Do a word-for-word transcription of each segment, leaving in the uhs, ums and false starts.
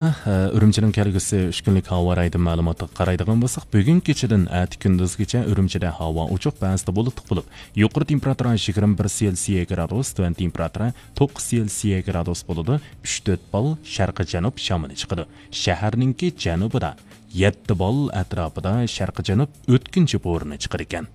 ئۈرۈمچىنىڭ كەلگۈسى ئۈچ كۈنلۈك ھاۋا رايىدىن مەلۇماتىغا قارايدىغان بولساق، بۈگۈن كېچىدىن ئەتە كۈندۈزگىچە ئۈرۈمچىدە ھاۋا ئوچۇق، بەزىدە بۇلۇتلۇق بولۇپ، يۇقىرى تېمپېراتۇرا يىگىرمە بىر سېلسىيە گرادۇس، تۆۋەن تېمپېراتۇرا توققۇز سېلسىيە گرادۇس بولىدۇ، ئۈچ تۆت بال شەرقىي جەنۇب شامىلى چىقىدۇ. شەھەرنىڭكى جەنۇبىدا يەتتە بال ئەتراپىدا شەرقىي جەنۇب ئۆتكۈنچى بورىنى چىقىدىكەن.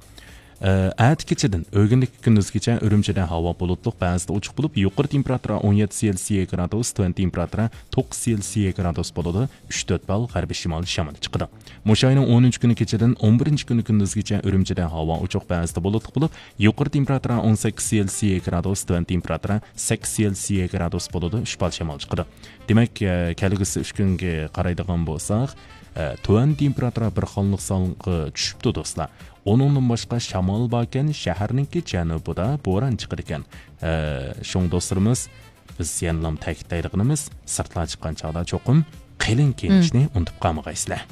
ئە، ئەتە كېچىدىن ئۆگۈندىكى كۈندۈزگىچە ئۈرۈمچىدە ھاۋا بۇلۇتلۇق، بەزىدە ئوچۇق بولۇپ، يۇقىرى تېمپېراتۇرا ئون يەتتە سېلسىيە گرادۇس، تۆۋەن تېمپېراتۇرا توققۇز سېلسىيە گرادۇس بولىدۇ، ئۈچ تۆت بال غەربىي شىمال شامىلى چىقىدۇ. مۇشۇ ئاينىڭ ئون ئۈچىنچى كۈنى كېچىدىن ئون بىرىنچى كۈنى كۈندۈزگىچە ئۈرۈمچىدە ھاۋا ئوچۇق، بەزىدە بۇلۇتلۇق بولۇپ، يۇقىرى تېمپېراتۇرا ئون سەككىز سېلسىيە گرادۇس، تۆۋەن تېمپېراتۇرا سەككىز سېلسىيە گرادۇس بولىدۇ، ئۈچ بال شامال چىقىدۇ. دېمەك، ئە، كەلگۈسى ئۈچ كۈنگە قارايدىغان بولساق، ئە، تۆۋەن تېمپېراتۇرا بىر خانىلىق سانغا چۈشۈپتۇ، دوستلار. ئۇنىڭدىن باشقا شامال باركەن، شەھەرنىڭكى جەنۇبىدا بوران چىقىدىكەن. ئە، شۇڭا دوستلىرىمىز، بىز يەنىلا تەكىتلەيدىغىنىمىز، سىرتلارغا چىققان چاغدا چوقۇم قېلىن كىيىنىشنى ئۇنتۇپ قالمىغايسىلەر.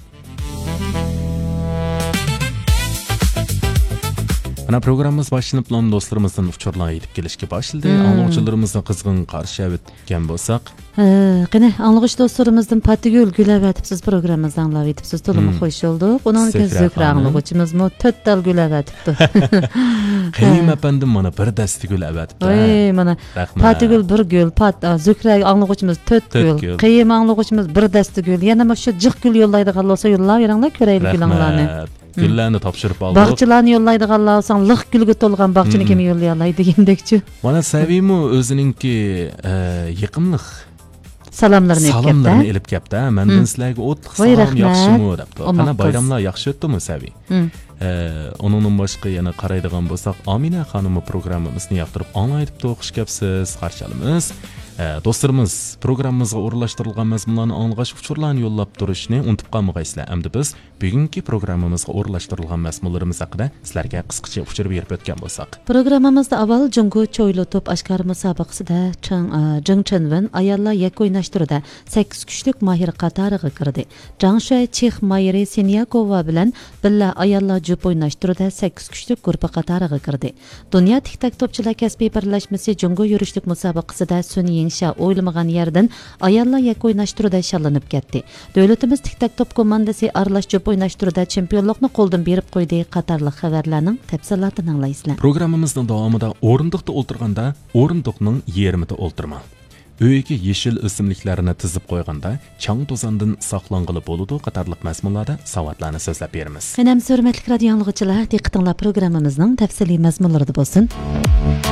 مانا پروگراممىمىز باشلىنىپلا دوستلىرىمىزدىن ئۇچۇرلار يېتىپ كېلىشكە باشلىدى. ئاڭلىغۇچىلىرىمىزنى قىزغىن قارشى ئەۋەتكەن بولساق. ھە، قېنى، ئاڭلىغۇچى دوستلىرىمىزدىن پاتىگۈل گۈل ئەۋەتىپسىز، پروگراممىمىزنى ئاڭلاۋېتىپسىز، تولىمۇ خوش بولدۇق. ئۇنىڭدىن كېيىن زۆھرە زۆھرە خانىم. ئاڭلىغۇچىمىزمۇ تۆت تال گۈل ئەۋەتىپتۇ. قېيۇم ئەپەندىم مانا بىر دەستە گۈل ئەۋەتىپتۇ، ھە. ۋاي، مانا رەھمەت. پاتىگۈل بىر گۈل، پات-، ئا، زۆھرە ئاڭلىغۇچىمىز تۆت تۆت گۈل، گۈل. قېيۇم ئاڭلىغۇچىمىز بىر دەستە گۈل. يەنە مۇشۇ جىق گۈل يوللايدىغانلار بولسا يوللاۋېرىڭلار، كۆرەيلى گۈلۈڭلارنى. رەھمەت. گۈللەرنى تاپشۇرۇپ ئالدۇق. باغچىلارنى يوللايدىغانلار بولساڭ، لىق گۈلگە تولغان باغچىنى كىم يوللىيالاي دېگەندەكچۇ. مانا سەۋىمۇ ئۆزىنىڭكى، ئە، يېقىملىق سالاملىرىنى ئېلىپ كەپتۇ. سالاملىرىنى ئېلىپ كەپتۇ. مەندىن سىلەرگە ئوتلۇق سالام، ياخشىمۇ دەپتۇ. قانا، بايراملار ياخشى ئۆتتىمۇ، سەۋى؟ ئە، ئۇنىڭدىن باشقا يەنە قارايدىغان بولساق، ئامىنە خانىممۇ پروگراممىمىزنى ياقتۇرۇپ ئاڭلايدىپتۇ. خوش كەپسىز، قارشى ئالىمىز. ئە، دوستلىرىمىز، پروگراممىمىزغا ئورۇنلاشتۇرۇلغان مەزمۇنلارنى ئاڭلىغاچ، ئۇچۇرلارنى يوللاپ تۇرۇشنى ئۇنتۇپ قالمىغايسىلەر. ئەمدى بىز بۈگۈنكى پروگراممىمىزغا ئورۇنلاشتۇرۇلغان مەزمۇنلىرىمىز ھەققىدە سىلەرگە قىسقىچە ئۇچۇر بېرىپ ئۆتكەن بولساق. پروگراممىمىزدا ئاۋۋال جۇڭگو چويلا توپ ئاشكارا مۇسابىقىسىدە چېڭ-، ئا، جېڭ چېنۋېن ئاياللار يەككە ئويناش تۈرىدە سەككىز كۈچلۈك ماھىر قاتارىغا كىردى. جاڭ شۈەي چېخ ماھىرى سىنياكوۋا بىلەن بىللە ئاياللار جۈپ ئويناش تۈرىدە سەككىز كۈچلۈك گۇرۇپپا قاتارىغا كىردى. دۇنيا تىك تاك توپچىلار كەسپىي بىرلەشمىسى جۇڭگو يۈرۈشلۈك مۇسابىقىسىدە سۈن يىڭشيا ئويلىمىغان يەردىن ئاياللار يەككە ئويناش تۈرىدە شاللىنىپ كەتتى. دۆلىتىمىز تىك تاك توپ كوماندىسى ئارىلاش جۈپ ئويناش تۈرىدە چېمپىيونلۇقنى قولدىن بېرىپ قويدى قاتارلىق خەۋەرلەرنىڭ تەپسىلاتىنى ئاڭلايسىلەر. پروگراممىمىزنىڭ داۋامىدا ئورۇندۇقتا ئولتۇرغاندا ئورۇندۇقنىڭ يېرىمىدە ئولتۇرماڭ. ئۆيگە يېشىل ئۆسۈملۈكلەرنى تىزىپ قويغاندا چاڭ توزاندىن ساقلانغىلى بولىدۇ قاتارلىق مەزمۇنلاردا ساۋاتلارنى سۆزلەپ بېرىمىز. قېنى ئەمىسە ھۆرمەتلىك رادىيو ئاڭلىغۇچىلار، دىققىتىڭلار پروگراممىمىزنىڭ تەپسىلىي مەزمۇنلىرىدا بولسۇن.